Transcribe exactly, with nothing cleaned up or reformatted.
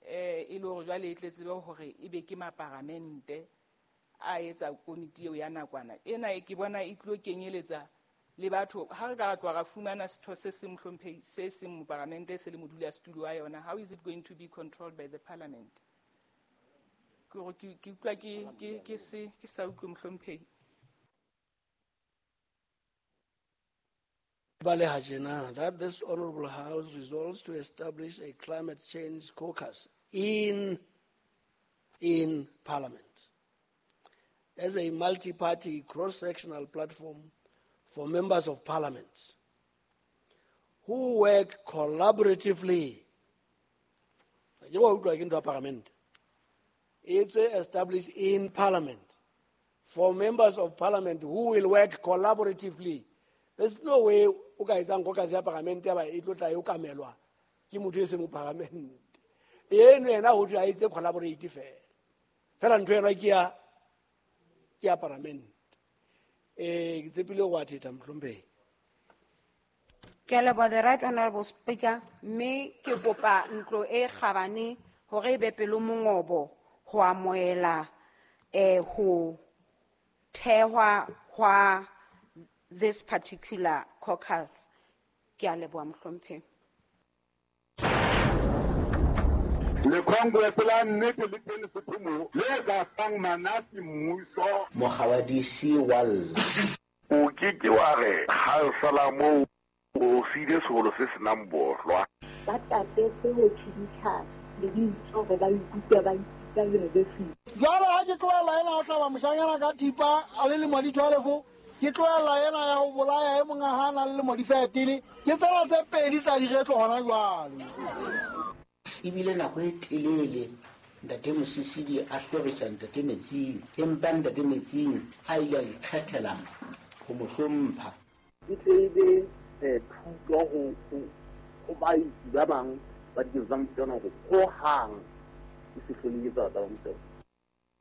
eh e le hore jwale e tle tsebe hore e be ke maparamente a etsa komiti eo ya nakwana ena e ke bona e tlo kenyeletsa le batho ha re ka ra tloha ra fumana setho se seng mohlomphehi se seng moparamente se le modulasetulo wa yona. How is it going to be controlled by the parliament? Ke hore ke ke utlwa ke ke ke se ke sa utlwe mohlomphehi. Baleha tjena, that this honorable house resolves to establish a climate change caucus in, in parliament as a multi-party cross-sectional platform for members of parliament who work collaboratively. Ke wa utlwa ke ntho ya parliament. It's established in parliament for members of parliament who will work collaboratively. There's no way o ka etsang caucus ya parliament ya ba e tlo tla e okamelwa ke motho e seng moparlamente. Eno yena ho thwe a etse collaborate fela. Fela ntho ena ke ya, ke ya parliament. Eh, ke tshepile ho wa thetha mohlomphehi. Ke a leboha, the right honorable speaker, mme ke kopa ntlo e kgabane hore e be pelo mongobo ho amohela, eh, ho thehwa hwa this particular caucus. Ke a leboha mohlomphehi. Le Congress la nnete le teng Sotho le ka fang manasi mmuso. Mogawadisi wa lla. O ke ke wa re khansela moo o siile sekolo se senang bohlwa. Ba tatetse ho tjhiditjha lebitso hore ba ikutlwe ba ikutlwa university. Jwale ha ke tlohela ena ho hlaba moshanyana ka thipa a le lemo di twelve, ke tlohela ena ya ho bolaya e mong ha a na le lemo di thirteen, ke tsena tse pedi tsa diretlo hona jwale. Ebile nako e telele ntate Mosisili a hlorisa ntate Metsing, empa ntate Metsing a ile a ikgethela ho mo hlompha. E tle e be, eh, thuto ho, ho, ho baetsi ba bang ba diketso tsa mofuta ona hore hohang e se hlole e etsahala tsa mofuta ona.